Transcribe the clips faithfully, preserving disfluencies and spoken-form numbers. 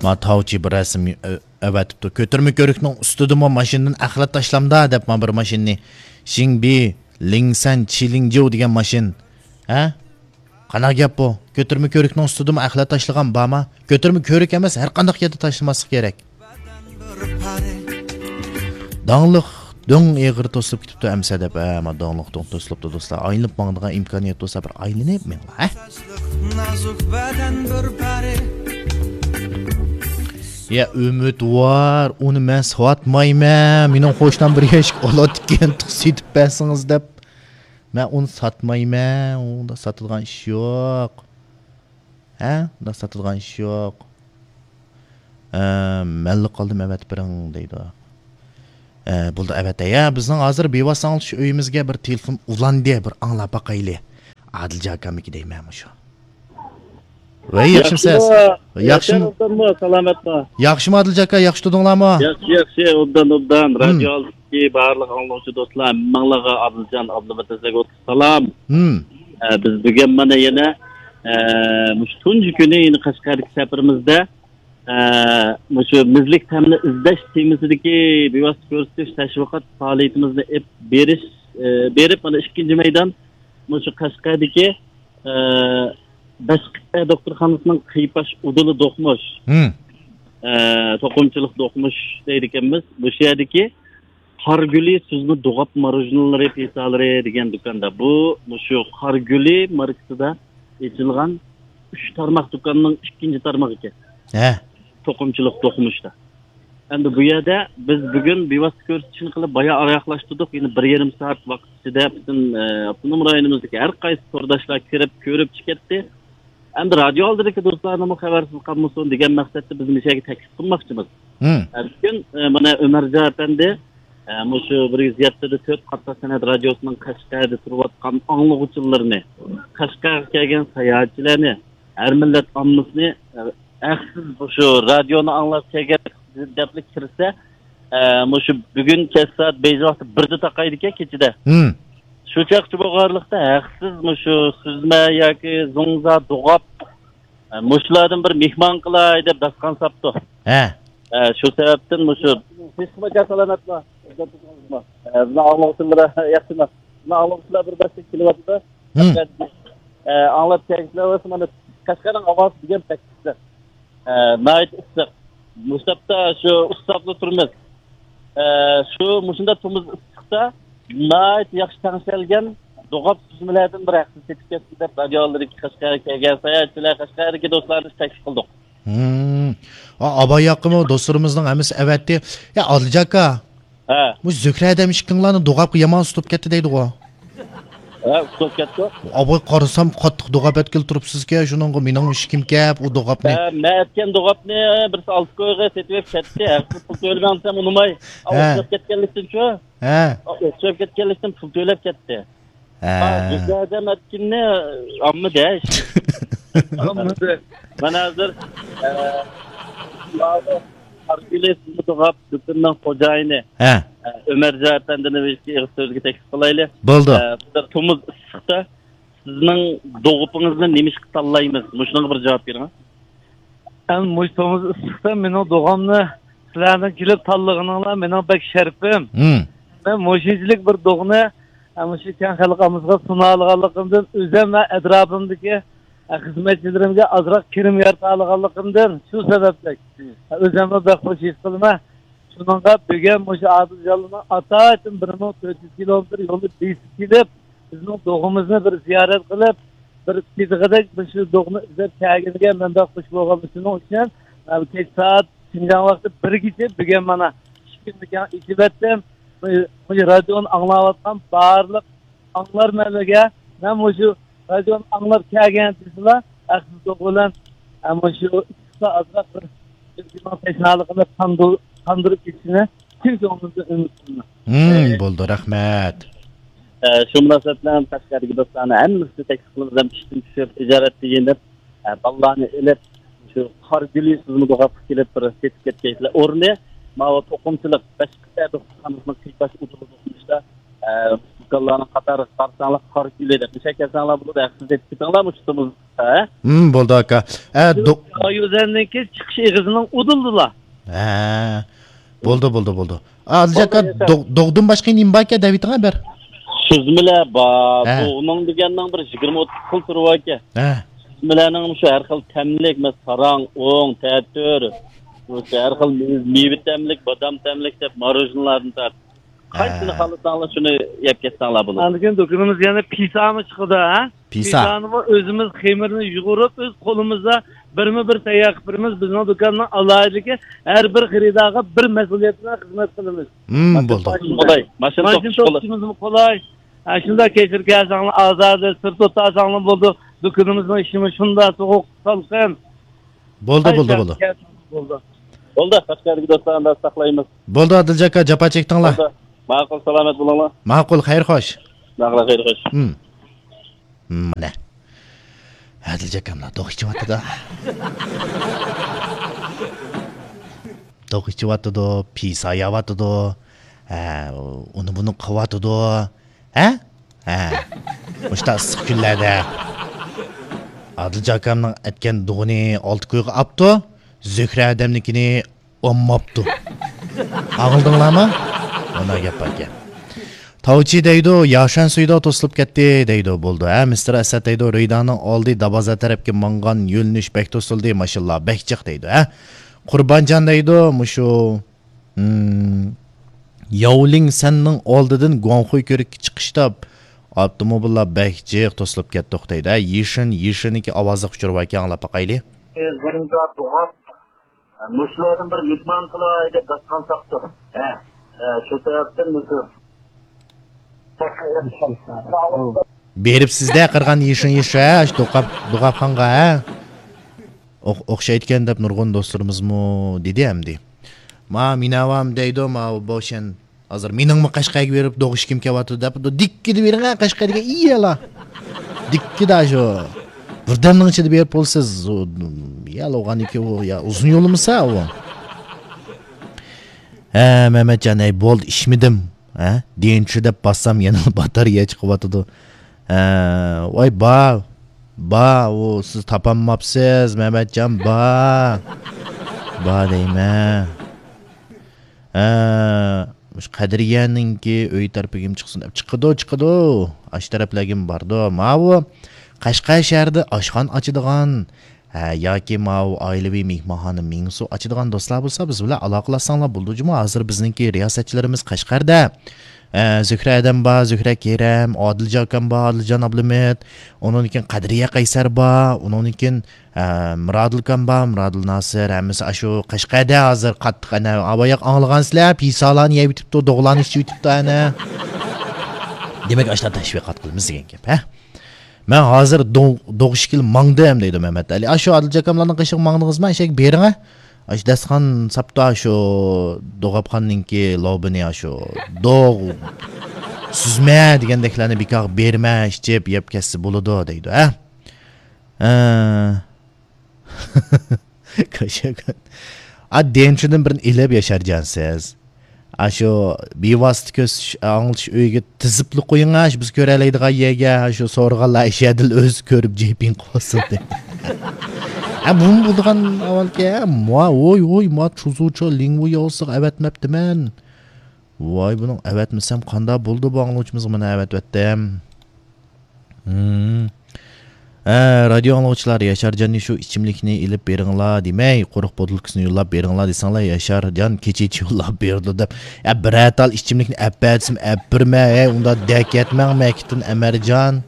ما تاۋچى بىر رەسىم ئە-، ئەۋەتىپتۇ. كۆتۈرمە كۆۋرۈكنىڭ ئۈستىدىمۇ ماشىنىدىن ئەخلەت تاشلامدا دەپ ما بىر ماشىنىنى. شىڭبى، لىڭسەن، چىلىڭجيۇ دېگەن ماشىنا. ھە؟ قانداق گەپ بۇ؟ كۆتۈرمە كۆۋرۈكنىڭ ئۈستىدىمۇ ئەخلەت تاشلىغان بارما؟ كۆتۈرمە كۆۋرۈك ئەمەس، ھەر قانداق يەردە تاشلىماسلىق كېرەك. داڭلىق دۆڭ ئېغىر توسۇلۇپ كېتىپتۇ ئەمسە دەپ، ھە، ما داڭلىق دۆڭ توسۇلۇپتۇ دوستلار. ئايلىنىپ ماڭىدىغان ئىمكانىيەت بولسا بىر ئايلىنىپ مېڭىڭلار، ھە؟ نازۇك بەدەن بىر پەرى. يا ئۈمىدۋار، ئۇنى مەن ساتمايمەن. مېنىڭ قوشنام بىر ياشىك ئالاتتىكەن، سېتىپ بەرسىڭىز دەپ. مەن ئۇنى ساتمايمەن، ئۇندا ساتىدىغان ئىش يوق. ھە؟ ئۇندا ساتىدىغان ئىش يوق. ئە، مەنلا قالدىم، ئەۋەتىپ بېرىڭ دەيدۇ. ئە، بولدى، ئەۋەتەي. يا، بىزنىڭ ھازىر بىۋاسىتە ئاڭلىتىش ئۆيىمىزگە بىر تېلېفون ئۇلاندى، بىر ئاڭلاپ باقايلى. ئادىل جاكاممىكى دەيمەن مۇشۇ. ۋەي، ياخشىمۇسىز؟ ياخشىمۇ؟ ياخشىمۇ؟ ئوبدانمۇ؟ سالامەتمۇ؟ ياخشىمۇ ئادىل جاكا، ياخشى تۇردۇڭلارمۇ؟ ياخشى، ياخشى، ئوبدان، ئوبدان. ھىم. رادىيو ئالدىدىكى بارلىق ئاڭلىغۇچى دوستلار، ھەممىڭلارغا ئادىلجان ئابلىمىت دەسلەپ سالام. ھىم. ئە، بىز بۈگۈن مانا يەنە، ئە، مۇشۇ تۇنجى كۈنى يەنە قەشقەردىكى سەپىرىمىزدە، ئە، مۇشۇ مىزلىك تەمنى ئىزدەش تېمىسىدىكى بىۋاسىتە كۆرسىتىش تەشۋىقات پائالىيىتىمىزنى ئېلىپ بېرىش، ئە، بېرىپ، مانا ئىككىنچى مەيدان مۇشۇ قەشقەردىكى، ئە، بەشقىتە دوختۇرخانىسىنىڭ قىيپاش ئۇدۇلى دوقمۇش، ھىم. ئە، توقۇمىچىلىق دوقمۇش دەيدىكەنمىز. مۇشۇ يەردىكى قارگۈلى سۈزمە دوغاپ ماروژنىلىرى پىتالىرى دېگەن دۇكاندا. بۇ مۇشۇ قارگۈلى ماركىسىدا ئېچىلغان ئۈچ تارماق دۇكاننىڭ ئىككىنچى تارمىقى ئىكەن. ھە. توقۇمىچىلىق دوقمۇشتا. ئەمدى بۇ يەردە بىز بۈگۈن بىۋاسىتە كۆرسىتىشنى قىلىپ، بايا ئاياغلاشتۇردۇق. يەنە بىر يېرىم سائەت ۋاقىت ئىچىدە پۈتۈن، ئە، ئاپتونوم رايونىمىزدىكى ھەر قايسى تورداشلار كىرىپ، كۆرۈپ چىقىپ كەتتى. ئەمدى رادىيو ئالدىدىكى دوستلارنىمۇ خەۋەرسىز قالمىسۇن دېگەن مەقسەتتە بىز مۇشۇ يەرگە تەكلىپ قىلماقچىمىز. ھىم. ئە، بۈگۈن، ئە، مانا ئۆمەرجان ئەپەندى، ئە، مۇشۇ بىر يۈز يەتتە دە تۆت قاتناش سەنئەت رادىيوسىنىڭ قەشقەردە تۇرۇۋاتقان ئاڭلىغۇچىلىرىنى، قەشقەرگە كەلگەن ساياھەتچىلەرنى، ھەر مىللەت ئاممىسىنى، ئە، ھەقسىز مۇشۇ رادىيونى ئاڭلاپ كەلگەن دەپلا كىرسە، ئە، مۇشۇ بۈگۈن كەچ سائەت بېيجىڭ ۋاقتى بىردە تاقايدىكەن كېچىدە. ھىم. شۇ چاغقىچە بولغانلىقتا ھەقسىز مۇشۇ سۈزمە ياكى زوڭزا، دوغاپ، ئە، مۇشۇلاردىن بىر مېھمان قىلاي دەپ داستىخان ساپتۇ. ھە. ئە، شۇ سەۋەبتىن مۇشۇ. ھېسقىماچا سالامەتما؟ ئە، بۇنى ئاڭلىغۇچىلار ياخشىما؟ بۇنى ئاڭلىغۇچىلار بىر بەشتە كېلىۋاتىدۇ. ھىم. ئە، ئاڭلاپ كەلگۈچىلەر بولسا مانا قەشقەرنىڭ ھاۋاسى دېگەن بەك ئىسسىق. ئە، ناھايىتى ئىسسىق. مۇشۇ تاپتا شۇ ئۇسساپلا تۇرىمىز. ئە، شۇ مۇشۇنداق تومۇز ئىسسىقتا ناھايىتى ياخشى تەڭشەلگەن دوغاپ سۈزمىلەردىن بىر ھەقسىز سېتىپ كەتسۇن دەپ رادىيو ئالدىدىكى قەشقەرگە كەلگەن ساياھەتچىلەر، قەشقەردىكى دوستلارنى تەكلىپ قىلدۇق. ھىم. ئا، ئاباي ياققىمۇ دوستلىرىمىزنىڭ ھەممىسى ئەۋەتتى. يا، ئادىلجان ئاكا. ھە. بۇ زۆھرە ھەدەم ئىككىڭلارنى دوغاپقا يامان ئۇسلۇپ كەتتى دەيدىغۇ. ھە، ئۇسلۇپ كەتتى. ئاباي قارىسام قاتتىق دوغاپ ئەتكىلى تۇرۇپسىزكەن، شۇنىڭغا مېنىڭ ئىشىكىم كەپ، ئۇ دوغاپنى. ھە، مەن ئەتكەن دوغاپنى بىرسى ئالتە كويغا سېتىۋېلىپ كەتتى. ھەقسىز پۇل تۆلىمەڭ دېسەم ئۇنىماي. ھە. ئۇسلۇپ كەتكەنلىكتىنچۇ؟ ھە. ئۇسلۇپ كەتكەنلىكتىن پۇل تۆلەپ كەتتى. ھە. ھە، زۆھرە ھەدەم ئەتكىنىنى ئامما دەش. ئامما دەش. مانا ھازىر، ئە، قارگۈلى سۈزمە دوغاپ دۇكىنىنىڭ خوجايىنى، ھە. ئە، ئۆمەرجان ئەپەندىنى بىر ئىككى ئېغىز سۆزگە تەكلىپ قىلايلى. بولدى. ئە، بىر تومۇز ئىسسىقتا سىزنىڭ دوغىپىڭىزنى نېمىشقا تاللايمىز؟ مۇشۇنىڭغا بىر جاۋاب بېرىڭ. ئەمدى مۇشۇ تومۇز ئىسسىقتا مېنىڭ دوغامنى سىلەرنىڭ كېلىپ تاللىغىنىڭلار مېنىڭ بەك شەرىپىم. ھىم. مەن مۇشۇنچىلىك بىر دوغنى، ئە، مۇشۇ كەڭ خەلق ئاممىسىغا سۇنالىغانلىقىمدىن، ئۆزۈم ۋە ئەتراپىمدىكى، ئە، خىزمەتچىلىرىمگە ئازراق كىرىم يارىتالىغانلىقىمدىن، شۇ سەۋەبلىك، ھىم. ئە، ئۆزۈممۇ بەك خۇش ھېس قىلىمەن. شۇنىڭغا بۈگۈن مۇشۇ ئادىلجانلارنىڭ ئاتايىتىن بىر مىڭ تۆت يۈز كىلومېتىر يولنى بېسىپ كېلىپ، بىزنىڭ دوغىمىزنى بىر زىيارەت قىلىپ، بىر تېتىغۇدەك مۇشۇ دوغنى ئىزدەپ كەلگىنىگە مەن بەك خۇش بولغانمەن. شۇنىڭ ئۈچۈن، ئە، كەچ سائەت شىنجاڭ ۋاقتى بىرگىچە بۈگۈن مانا ئىشىكىمنى كەڭ ئېچىۋەتتىم. مۇشۇ رادىيونى ئاڭلاۋاتقان بارلىق ئاڭلارمەنلەرگە مەن مۇشۇ رادىيونى ئاڭلاپ كەلگەن دېسىلا، ئەخسىز دوغا بىلەن، ئە، مۇشۇ ئىسسىقتا ئازراق بىر ئۆزىنىڭ تەشنالىقىنى قاندۇر-، قاندۇرۇپ كېتىشىنى چىن كۆڭلۈمدىن ئۈمىد قىلىمەن. ھىم، بولدى، رەھمەت. ئە، شۇ مۇناسىۋەت بىلەن قەشقەردىكى دوستلارنى ھەممىسىنى تەكلىپ قىلىمىز، ھەم ئىشتىن چۈشۈپ، ئىجارەتتە يېنىپ، ئە، بالىلارنى ئېلىپ، شۇ قارگۈلى سۈزمە دوغاپقا كېلىپ بىر سېتىپ كەتكەيسىلەر. ئورنى ماۋۇ توقۇمىچىلىق بەشقىتە دوختۇرخانىسىنىڭ قىيپاش ئۇدۇلىدا تۇرمۇشتا، ئە، دۇكانلارنىڭ قاتارىغا قارىساڭلار، قارا كۈنلەردە مۇشۇ كەلسەڭلار بولىدۇ، ھەقسىز ئېتىپ كېتىڭلار مۇشۇ تۇمۇزدا. ھە؟ ھىم، بولدى ئاكا. ئە، دو- يۈزەننىڭكى چىقىش ئېغىزىنىڭ ئۇدۇلىدىلا. ھە. بولدى، بولدى، بولدى. ئادىلجان ئاكا، بولدى، يېسە. دو-، دوغدىن باشقا نېمە باركەن دەۋېتىڭە بىر. سۈزمىلەر بار. ھە. دوغنىڭ دېگەننىڭ بىر يىگىرمە ئوتتۇز خىل تۈرى باركەن. ھە. سۈزمىلەرنىڭ شۇ ھەر خىل تەملىك، مەسىلەن، ساراڭ، ئوڭ، تەتۈر، شۇ ھەر خىل مېۋە، مېۋە تەملىك، بادام تەملىك دەپ ماروژنىلاردىن تارتىپ. قايسىنى ھە. خالىساڭلار، شۇنى يەپ كەتسەڭلار بولىدۇ. ئاندىن كېيىن دۇكىنىمىز يەنە پىسامۇ چىقىدۇ، ھە؟ پىسا. پىسانىمۇ ئۆزىمىز خېمىرنى يۇغۇرۇپ، ئۆز قولىمىزدا بىرمۇ بىر تەييار قىلىپ بېرىمىز. بىزنىڭ دۇكاننىڭ ئالاھىدىلىكى، ھەر بىر خېرىدارغا بىر مەسئۇلىيەت بىلەن خىزمەت قىلىمىز. ھىم، بولدى. قولاي، ماشىنا ماشىنا توختىتىش قولاي. توختىتىشىمىزمۇ قولاي. ھە، شۇنداق كەچۈرۈپ كەلسەڭلار، ئازادە سىر توختىساڭلار بولىدۇ. دۇكىنىمىزنىڭ ئىشىمۇ شۇنداق سوغۇق، سالقىن. بولدى، بولدى، بولدى. بولدى. بولدى، قەشقەردىكى دوستلار، ئەمدى ساقلايمىز. بولدى، ئادىلجان ئاكا، جاپا چەكتىڭلار. بولدى. ماقۇل، سالامەت بولۇڭلار. ماقۇل، خەير خوش. ماقۇل، خەير خوش. ھىم. مانا. ئادىلجان ئاكاملار دوغ ئىچىۋاتىدۇ. دوغ ئىچىۋاتىدۇ، پىسا يەۋاتىدۇ. ھە، ئۇنى بۇنى قىلىۋاتىدۇ. ھە؟ ھە. مۇشۇنداق ئىسسىق كۈنلەردە. ئادىلجان ئاكامنىڭ ئەتكەن دوغىنى ئالتە كويغا ئاپتۇ. زۆھرە ئادەمنىڭكىنى ئالماپتۇ. ئاڭلىدىڭلارمۇ؟ مانا گەپ باركەن. تاۋچى دەيدۇ، ياشەن سۈيداۋ توسۇلۇپ كەتتى دەيدۇ. بولدى، ھە، مىستېر ئەسەت دەيدۇ، رېيدانىڭ ئالدى دابازا تەرەپكە ماڭغان يۆنىلىش بەك توسۇلدى، ماشىنىلار بەك جىق دەيدۇ، ھە. قۇربانجان دەيدۇ، مۇشۇ، ھىم، ياۋلىڭ سەننىڭ ئالدىدىن گۇاڭخۇي كۆۋرۈككە چىقىشتا ئاپتوموبىللار بەك جىق توسۇلۇپ كەتتۇق دەيدۇ، ھە. يىشىن، يىشىننىڭكى ئاۋازلىق ئۇچۇرى باركەن، ئاڭلاپ باقايلى. مۇشۇلاردىن بىر مېھمان قىلاي دەپ داستىخان تاپتۇق. ھە، ھە، شۇ سەۋەبتىن مۇشۇ. بېرىپسىز-دە قىرغان يېشىن يېشە، ھە، شۇ دوقاپ، دوقاپخانغا، ھە؟ ئوخ-، ئوخشايدىكەن دەپ نۇرغۇن دوستلىرىمىزمۇ دېدى ئەمدى. ما مىناۋام دەيدۇ، ما بوشەن. ھازىر مېنىڭمۇ قەشقەرگە بېرىپ دوغۇشكىم كېلىۋاتىدۇ دەپ، دىككىدە بېرىڭە قەشقەرگە، ئىيەلا. دىككىدە شۇ. بىردەمنىڭ ئىچىدە بېرىپ بولىسىز. ئۇ، يا، ئۇغانىكى ئۇ، يا، ئۇزۇن يولىمىسا ئۇ. ھە، مەمەتجان، ئەي، بولدى، ئىچمىدىم. ھە؟ دىنچى دەپ باسسام، يەنە باتارېيە چىقىۋاتىدۇ. ھە، ۋاي، با، با، ئۇ، سىز تاپالماپسىز، مەمەتجان، با. با دەيمەن. ھە، مۇشۇ قەدرىيەنىڭكى ئۆي تەرىپىگىمۇ چىقسۇن دەپ. چىقىدۇ، چىقىدۇ. ئاشۇ تەرەپلەرگىمۇ باردۇ. ماۋۇ قەشقەر شەھىرىدە ئاشخانا ئاچىدىغان، ھە، ياكى ماۋۇ ئائىلىۋى مېھمانخانا مېڭىسى ئاچىدىغان دوستلار بولسا، بىز بىلەن ئالاقىلاشساڭلار بولىدۇ جۇمۇ. ھازىر بىزنىڭكى رىياسەتچىلىرىمىز قەشقەردە. ھە، زۆھرە ئادەم بار، زۆھرە كېرەم، ئادىلجان ئاكام بار، ئادىلجان ئابلىمىت. ئۇنىڭدىن كېيىن قەدرىيە قەيسەر بار، ئۇنىڭدىن كېيىن، ھە، مۇرادىل ئاكام بار، مۇرادىل ناسىر. ھەممىسى ئاشۇ قەشقەردە ھازىر قاتتىق، ئەنە، باياق ئاڭلىغانسىلەر، پىسالارنى يەۋېتىپتۇ، دوغلارنى ئىچىۋېتىپتۇ، ئەنە. دېمەك، ئاشۇنداق تەشۋىقات قىلىمىز دېگەن گەپ، ھە؟ مەن ھازىر دو-، دوغ ئىچكىلى ماڭدىم دەيدۇ مەمەت ئەلى. ئاشۇ ئادىلجان ئاكاملارنىڭ قېشىغا ماڭدىڭىزمۇ؟ ئەشەگە بېرىڭە. ئاشۇ دەستىخان ساپتا شۇ دوغاپخانىنىڭكى لوبىنى ئاشۇ دوغ سۈزمە دېگەندەكلەرنى بىكارغا بېرىمە، ئىچىپ يەپ كەتسە بولىدۇ دەيدۇ، ھە؟ ھە. كاشاكان. ئا، دېنچىدىن بىرنى ئېلىپ ياشارجان سىز. ئاشۇ بىۋاسىتە كۆز ئاڭلىتىش ئۆيىگە تىزىپلا قويۇڭ، ئاشۇ بىز كۆرەلەيدىغان يەرگە، ئاشۇ سورىغانلار ئىشەدىل ئۆزى كۆرۈپ جېپىڭ قوسۇلدى. ھە، بۇمۇ بولىدىغان ئەھۋالكەن، ھە؟ ما، ۋوي، ۋوي، ما، چۇزۇچۇ لىڭۋۇ ياۋسىغا ئەۋەتمەپتىمەن. ۋاي، بۇنىڭ ئەۋەتمىسەم قانداق بولىدۇ، بۇ ئاڭلىغۇچىمىزغا مانا ئەۋەتىۋەتتىم. ھىم. ھە، رادىيو ئاڭلىغۇچىلار، ياشارجاننى شۇ ئىچىملىكنى ئېلىپ بېرىڭلار دېمەي، قۇرۇق بوتۇلكىسىنى يوللاپ بېرىڭلار دېسەڭلار، ياشارجان كېچىچە يوللاپ بېرىدۇ دەپ. يا، بىرەر تال ئىچىملىكنى ئەپ بەرسىم ئەپ بېرىمەن، ھەي، ئۇنداق دەكەتمەڭ مەكىتتىن ئەمەرجان.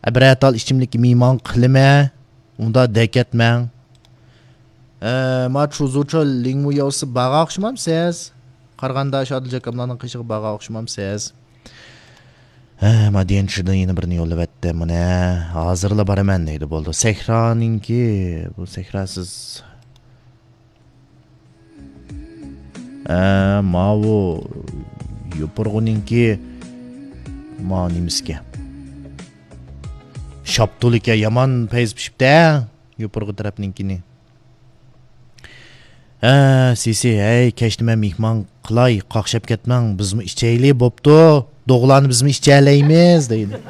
يا، بىرەر تال ئىچىملىككە مېھمان قىلىمەن، ئۇنداق دەكەتمەڭ. ئە، ما چۇزۇچۇ لىڭمۇ ياۋسى بارغان ئوخشىمامسىز؟ قارىغاندا شۇ ئادىلجان ئاكاملارنىڭ قېشىغا بارغان ئوخشىمامسىز؟ ھە، ما دىيەنچىدىن يەنە بىرنى يوللىۋەتتى. مانا، ھازىرلا بارىمەن دەيدۇ، بولدى. سەھرانىڭكى، بۇ سەھرا سىز، ھە، ماۋۇ يوپۇرغىنىڭكى، ما نېمىسىكەن؟ شاپتۇلىكەن، يامان پەيز پىشىپتۇ، ھە، يوپۇرغا تەرەپنىڭكىنى. ھە، سىسى، ھەي، كەچتە مەن مېھمان قىلاي، قاقشاپ كەتمەڭ، بىزمۇ ئىچەيلى، بوپتۇ. دوغىلارنى بىزمۇ ئىچەلەيمىز دەيدۇ.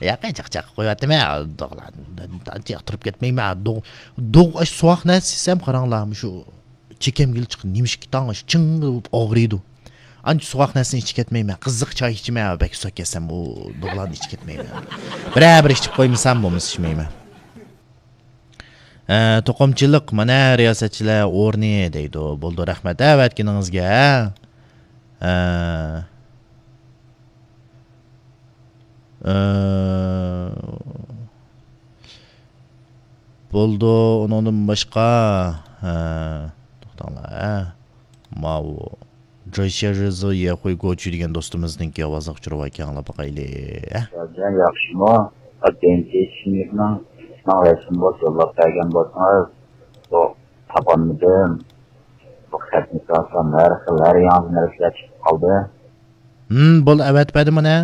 ياق، چاقچاق قويۇۋاتىمەن، دوغىلارنى ئانچە ياقتۇرۇپ كەتمەيمەن. دوغ، دوغ، ئاش سوغۇق نەرسە يېسەم، قاراڭلار، مۇشۇ چېكەمگىلا چىقىپ، نېمىشقا تاڭ ئاش چىڭ بولۇپ ئاغرىيدۇ. ئانچە سوغۇق نەرسىنى ئىچىپ كەتمەيمەن. قىزىق چاي ئىچىمەن، بەك ئۇسساپ كەتسەم، ئۇ دوغىلارنى ئىچىپ كەتمەيمەن. بىرەر بىر ئىچىپ قويمىسام، بولمىسا ئىچمەيمەن. ئە، توقۇمىچىلىق، مانا رىياسەتچىلەر ئورنى دەيدۇ. بولدى، رەھمەت ئەۋەتكىنىڭىزگە. ئە، ئە، بولدى، ئۇنىڭدىن باشقا، ئە، توختاڭلار، ئە، ماۋۇ جويشياژىزۇ يەخۇي گوچۈ دېگەن دوستىمىزنىڭكى ئاۋازىغا ئۇچۇرۇۋايكەڭلار باقايلى. ياخشىمۇ؟ ئاكىنچى چىشىملىكنىڭ سىزنىڭ رەسىمى بولسا يوللاپ بەرگەن بولسىڭىز، بۇ تاپالمىدىم. بۇ خەتنى كۆرسەم ھەر خىل، ھەر ياڭزا نەرسىلەر چىقىپ قالدى. ھىم، بول، ئەۋەتىپ بەردىم مانا.